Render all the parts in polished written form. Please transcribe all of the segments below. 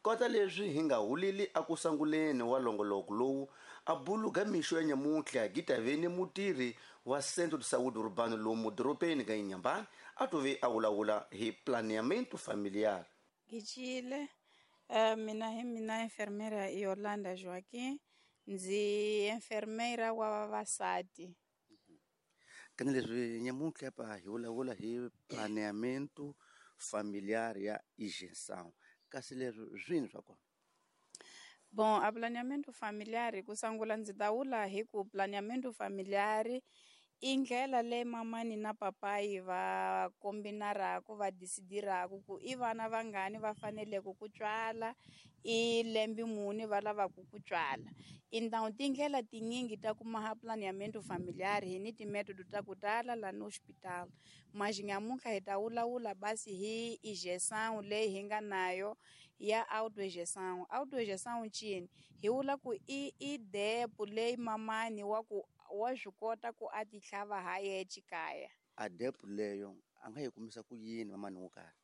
Kota leswi hi nga huleli akusanguleni wa longoloko lowu a buluga mixo ya nyamuntlha gitaveni mutirhi wa Centro de Saúde Urbano lomu doropeni ka Inhambane a tove a vulavula hi planeamento familiar. Gicile mina hi mina enfermeira Yolanda Joaquim, ndzi enfermeira wa vavasati. Kana leswi nyamuntlha pa hi vulavula hi planeamento familiar ya injeção. Kasi leswi swini swa kona? Bom, a planeamento familiar ku sungula ndzi ta vula hi ku planeamento familiar i ndlela leyi mamani na papayi va kombinaraku va decidiraku ku i vana vangani va faneleke ku tswala, i lembe muni va lavaku ku tswala. Então tindlela tinyingi ta ku maha planeamento familiar hi ni timetodo ta ku tala lani hospital. Mas nyamuntlha hi ta vulavula basi hi injeção leyi hi nga nayo ya autoinjeção. Autoinjeção ncini? Hi vula ku i depo leyi mamani wa ku wa swi kota ku a ti tlhava ha yexe kaya. A depo leyo a nga yi kumisa ku yini mamani wo karhi?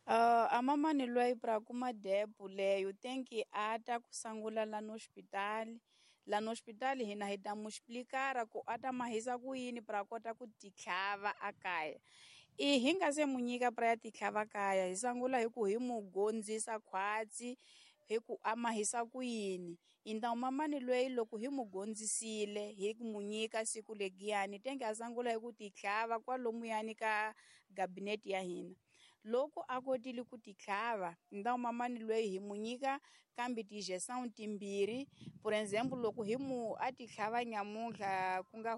A mamani loyi pra kuma depo leyo tenki a ta ku sungula lani hospitali. Lani hospitali hina hi ta mu explicar ku a ta mahisa ku yini pra kota ku ti tlhava a kaya. I hi nga se mu nyika pra ya ti tlhava kaya hi sungula hi ku hi mu gondzisa khwatsi hi ku a mahisa ku yini. Então mamani loyi loko hi mu gondzisile hi ku mu nyika siku legiyani tenge a sungula hi ku ti tlhava kwalomuyani ka gabinete ya hina. Loko a kotile ku ti tlhava, então mamani loyi hi mu nyika kambe ti-injeção timbirhi. Por exemplo, loko hi mu a ti tlhava nyamuntlha ku nga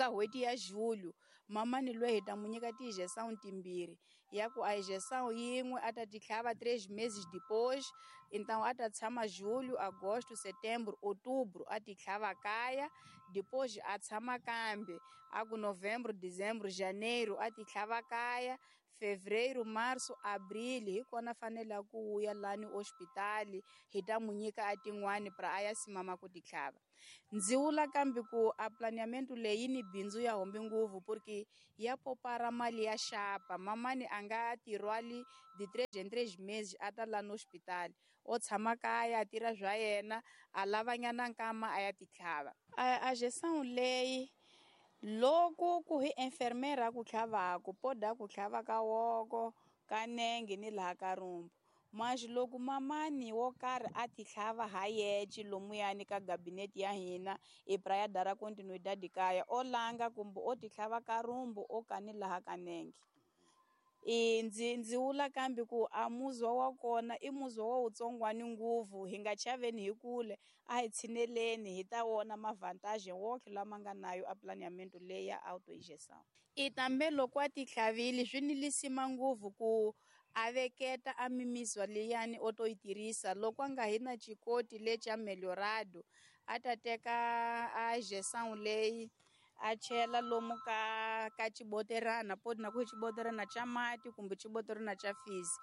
n'hweti ya julho, mamani loyi hi ta mu nyika ti-injeção timbirhi ya ku a injeção yin'we a ta ti tlhava 3 meses depois, então a ta tshama julho, agosto, setembro, outubro a ti tlhava kaya, depois a tshama kambe a ku novembro, dezembro, janeiro a ti tlhava kaya, fevereiro, março, abril hi kona fanele ku ya lani hospitali hi ta mu nyika a tin'wani pra a ya simama ku ti tlhava. Ndzi vula kambe ku a planeamento leyi ni bindzu ya hombi ngopfu porque ya popara mali ya xapa. Mamani a nga tirhwali di 3 en 3 meses a ta lani hospitali, o tshama kaya a tirha swa yena a lavanyana nkama a ya ti tlhava. A injeção leyi loko ku hi enfermeira ku tlhavaku poda ku tlhava ka woko ka nenge ni laha ka rumbu. Mas loko mamani wo karhi a ti tlhava ha yexe lomuyani ka gabinete ya hina i pra ya dara continuidade kaya o langa kumbe o ti tlhava ka rumbu o kani laha ka nenge. I ndzi vula kambe ku a muzwa wa kona i muzwa wa wutsongwani ngopfu, hi nga chaveni hi kule, a hi tshineleni hi ta wona mavantage wonke lama nga nayo a planeamento leyi ya autoinjeção. I tambe loko a ti tlhavile swi ni lisima ngopfu ku a veketa a mimizwa liyani o to yi tirhisa. Loko a nga hi na xikoti lexi a melhorado a ta teka a injeção leyi a chela lomu ka xiboterana, poti na ku xiboterana xa mati kumbe xiboterana xa fisi.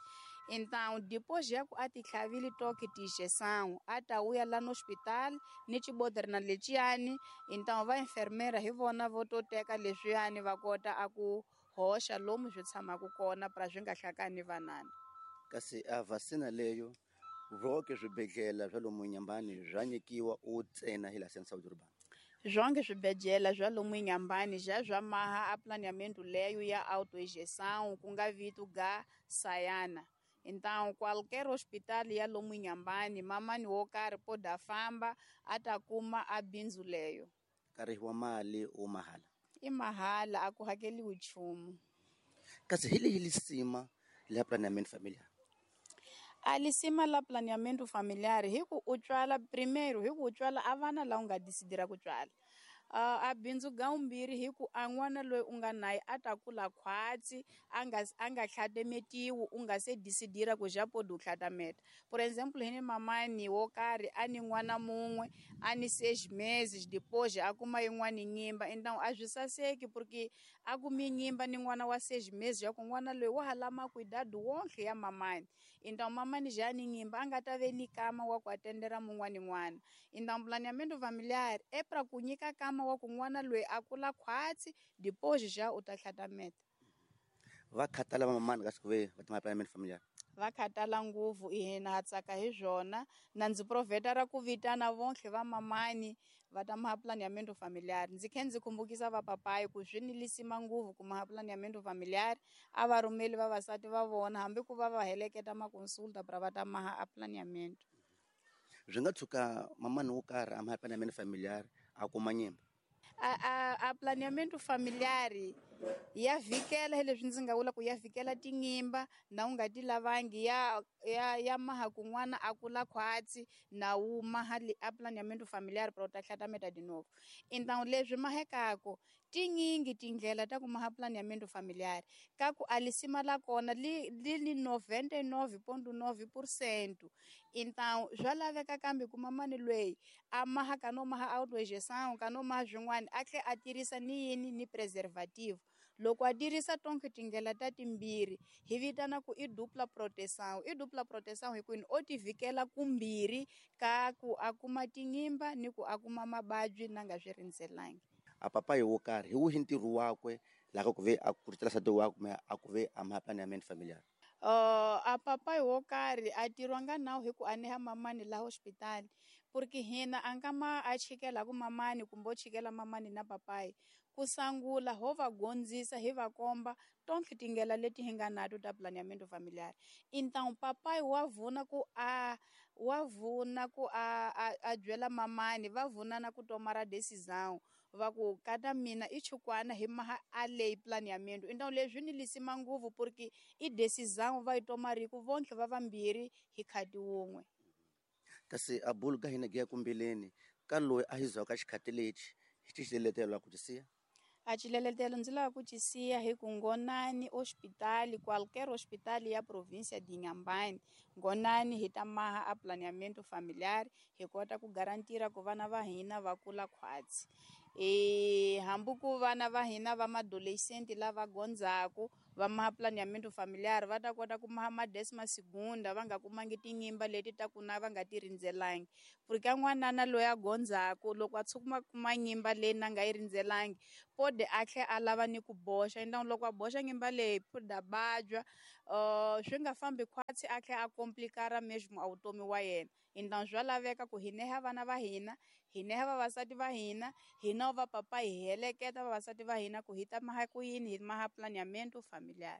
Então depois ya ku a ti tlhavile toke ti-injeção a ta vuya lani hospital ni xiboterana lexiyani. Então va enfermeira hi vona vo to teka leswiyani va kota a ku hoxa lomu swi tshamaka kona pra swi nga hlakani vanana. Kasi a vacina leyo voke swibedhlele swa lomu Inhambane swa nyikiwa u ntsena hi la Centro Saúde Urbano? Zonke swibedhlele swa lomu Inhambane ja swa maha a planeamento leyo ya autoinjeção ku nga vito ga Sayana. Então qualquer hospital ya lomu Inhambane mamani wo karhi poda famba a ta kuma a bindzu leyo. Nkarhi wa mali u mahala? I mahala, a ku hakeliwi nchumu. Kasi hi leyi lisima la planeamento familiar? A lisima la planeamento familiar hi ku u tswala primeiro hi ku u tswala a vana la u nga decidira ku tswala. A bindzu ga vumbirhi hi ku a n'wana loyi u nga naye a ta kula khwatsi a nga tlhatametiwi u nga se decidira ku ja podi u tlhatameta. Por exemplo, hi ni mamani wo karhi a ni n'wana mun'we a ni 6 meses depois a kuma yin'wani nyimba. Então a swi saseki porque a kumi nyimba ni n'wana wa 6 meses ya ku n'wana loyi wa ha lama cuidado wonke ya mamani. Então mamani ja ni nyimba a nga ta ve ni kama wa ku atendera mun'wani n'wana. Então planeamento familiar é pra ku nyika kama wa ku n'wana loyi a kula khwatsi depois ja u ta tlhatameta. Va khathala va mamani ka siku ve va tima planeamento familiar? Va khatala ngopfu hina ha tsaka hi swona na ndzi proveta ra ku vitana vontlhe va mamani va ta maha planeamento familiar. Ndzi khe ndzi khumbukisa va papayi ku swi ni lisima ngopfu ku maha planeamento familiar a va rhumeli vavasati va vona hambi ku va va heleketa makonsulta pra va ta maha a planeamento. Byi nga tshuka mamani wo karhi a maha planeamento familiar a kuma nyimba? A planeamento familiar ya vhikela hi leswi ndzi nga vula ku ya vhikela tinyimba na u nga ti lavangi ya maha kun'wana a kula khwatsi na wu maha a planeamento familiar pra u ta tlhatameta de novo. Então leswi mahekako tinyingi tindlela ta ku maha planeamento familiar ka ku a lisima la kona li li 99.9%. Então swa laveka kambe ku mamani lweyi a maha ka no maha autoinjeção ka no maha swin'wana a tlhe a tirhisa ni yini ni preservative. Loko a tirhisa tonke tindlela ta timbirhi hi vitana ku i dupla proteção. I dupla proteção hi kwini o ti vhikela kumbirhi ka ku a kuma tinyimba ni ku a kuma mavabyi na nga swi rindzelangi. A papayi wo karhi hi wihi ntirho wakwe laha ku ve a kucetela nsati wakwe kumbe a ku ve a maha planeamento familiar? A papayi wo karhi a tirhiwa nga nawu hi ku a neha mamani laha hospitali porque hina a nga ma a chikela ku mamani kumbe o chikela mamani na papayi. Ku sangula ho va gondzisa hi va komba tonke tindlela leti hi nga nato ta planeamento familiar. Então papai wa vuna ku a wa vuna ku a byela mamani va vunana ku tomara decisão va ku kata mina i chukwana hi maha a leyi planeamento. Então leswi ni lisima ngopfu porque i decisão va yi tomariku vontlhe va vambirhi hi khadi wun'we. Kasi a bulu ka hina giya kumbileni ka loyi a hi zwaka xikhati lexi hi xiletelo ku tisiya? A xiletelo ndzi lava ku tisiya hi ku ngonani hospitali qualquer hospital ya província de Inhambane ngonani hi ta maha a planeamento familiar hi kota ku garantira ku vana va hina va kula khwatsi. Hambi ku vana va hina va madolescent lava gondzaku va maha planeamento familiar va ta kota ku maha ma décima segunda va nga kumangi tinyimba leti ta ku na va nga ti rindzelangi. Porque ka n'wanana loyi a gondzaku loko a tshuka kuma nyimba leyi na nga yi rindzelangi pode a tlhe a lava ni ku boxa. Então loko a boxa nyimba leyi pode a vabya swi nga fambi khwatsi a tlhe a complikara mesmo a vutomi wa yena. Então swa laveka ku hi neha vana va hina, hi neha vavasati va hina, hina va papa hi heleketa vavasati va hina ku hi ta maha ku yini hi maha planeamento familiar.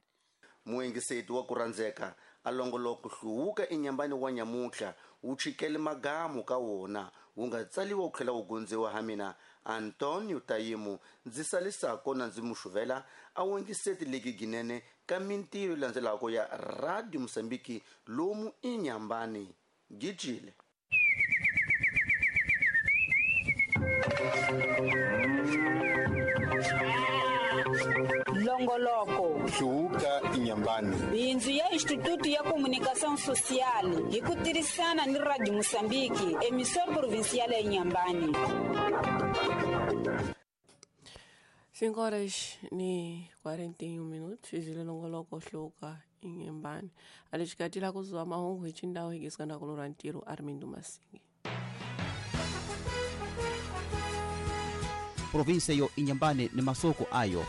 Muengiseti wa ku rhandzeka a longoloko hluvuka enyambani wa nyamutlha wu chikele magamu ka wona wu nga tsaliwa wu tlhela wu gondziwa ha mina Antonio Tayimu ndzi salisako na ndzi muxuvela a wengiseti leki ginene ka mintirho yi landzelaka ya Radio Mozambique lomu Inhambane. Gijile. Longoloko Hluvuka Inhambane. Bindzu ya Instituto ya Comunicação Social hi ku tirhisana ni Radio Mozambique, emissora provincial ya Inhambane. 5 horas ni 41 minutos izile longoloko hluvuka Inhambane. Alixikatila kuzuwa mahungu hi chindawo hikisikana kulura ntirho Armindo Masingi. Província yo Inhambane ni masoko ayo.